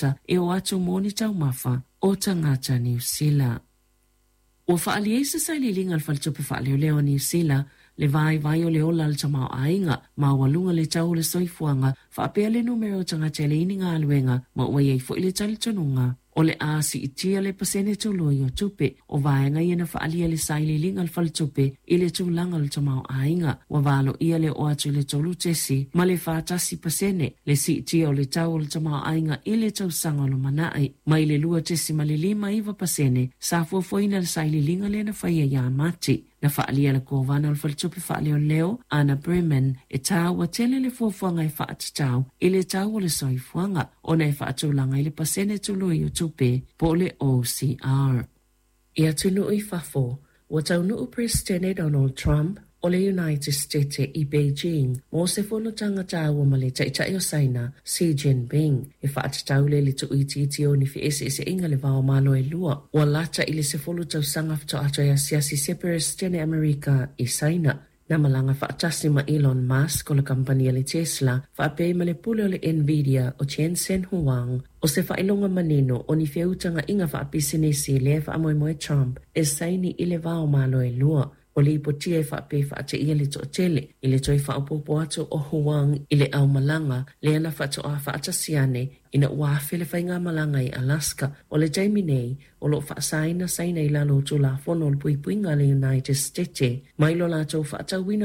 E o atu mo ni taumafa o tagata Niu Sila. Ua faaalia i se sailiiliga a le Faletupe Faaleoleo a Niu Sila le vaivai o le ola o le tamaoaiga maualuga le tau o le soifuaga faapea le numera o tagata e leai ni galuega ma ua i ai foi le talitonuga o le a siitia le pasene tului o tupe. O vaega ia na faaalia i le sailiiliga a le Faletupe i le tulaga o le tamaoaiga ua valoia le oo atu i le 3.41% le siitia o le tau o le tamaoaiga i le tausaga o lumanai mai le 2.59% sa fuafuaina i le sailiiliga lea na faia ia Mati. Na faaalia e le Kovana o le Faletupe Faaleoleo, Anna Breman, e taua tele le fuafuaga e faatatau i le tau o le soifuaga ona e faatulaga ai le pasene tului o tupe po o le OCR. I atunuu i fafo, ua taunuu Peresetene Donald Trump o le United State i Beijing mo se fonotaga taua ma le Taitai o Saina, Xi Jinping, e faatatau lea i le tuuitiitia o ni feeseeseaiga i le va o Malo e lua. Ua lata i le 10 tausaga faatoa toe asiasi se Peresetene Amerika i Saina. Na malaga faatasi ma Elon Musk o le kamupani a le Tesla faapea ai ma le pule o le Nvidia o Jensen Huang. O se faailoga manino o ni feutagaiga faapisinisi lea e faamoemoe Trump e saini i le va o Malo e lua. Ua lipotia e faapea e faateia le toatele i le toe faaopoopo atu o Huang i le aumalaga lea na faatoa faatasi ane ina ua afe le faigamalaga i Alaska. O le taimi nei, o lo o faasaina Saina i lalo o Tulafono o le Puipuiga a le United State mai lo latou faatauina.